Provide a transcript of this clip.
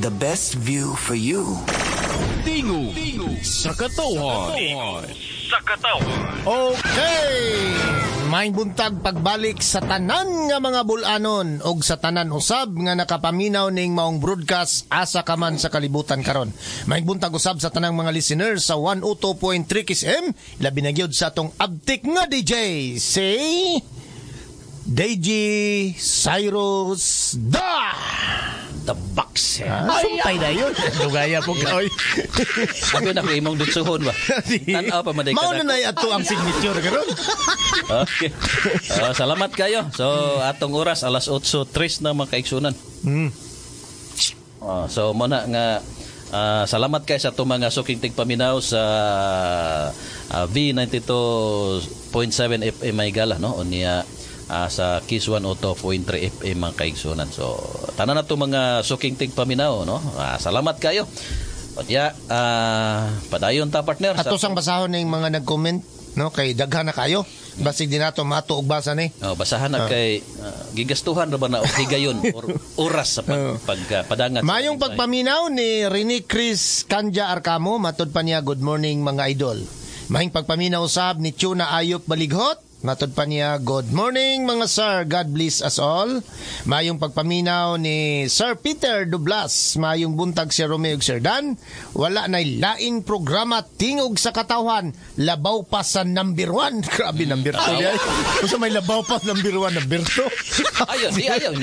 The best view for you. Tingog sa Katawhan. Sa Katawhan. Okay! Maayong buntag, pagbalik sa tanan nga mga bulanon og sa tanan usab nga nakapaminaw ning maong broadcast asa ka man sa kalibutan karon. Maayong buntag usab sa tanang mga listeners sa 102.3 Kiss FM, labi na gyud sa atong abtik nga DJ, si DJ Cyrus Da! The Boxer. Ah, sumpay na yun. Dugaya po ka, oy. Sabi na ko imong dutsuhon ba? Tan-aw pa man day Mao ka na na ato ang signature karon. Okay. Salamat kayo. So atong oras alas 8:03 na, mga kaigsunan. So mo na nga salamat kay sa atong mga suking tigpaminaw sa V92.7 FM may gala, no, unya sa Kiss 102.3 FM, mga kaigsunan. So tanan na to mga suking tigpaminaw, no. Salamat kayo. Unya padayon ta, partner. Ato sang basahon ning mga nag-comment, no, kay daghan na kayo. Basig di nato mato og basa ni. Oh, basahan na kay gigastuhan ra ba na og higayon or oras sa pagpadangat. Mayong pagpaminaw ni Rene Chris Kanja Arcamo, matod pa niya, "Good morning, mga idol." Mayong pagpaminaw usab ni Tuna Ayop Balighot. Matod pa niya, "Good morning, mga sir, God bless us all." Mayong pagpaminaw ni Sir Peter Dublas. "Mayong buntag, Sir Romeo ug Sir Dan. Wala na laing programa Tingog sa Katawhan. Labaw pa sa number one." Grabe, number two. Ay. Unsa may labaw pa number one, number two? Ayaw, di ayaw.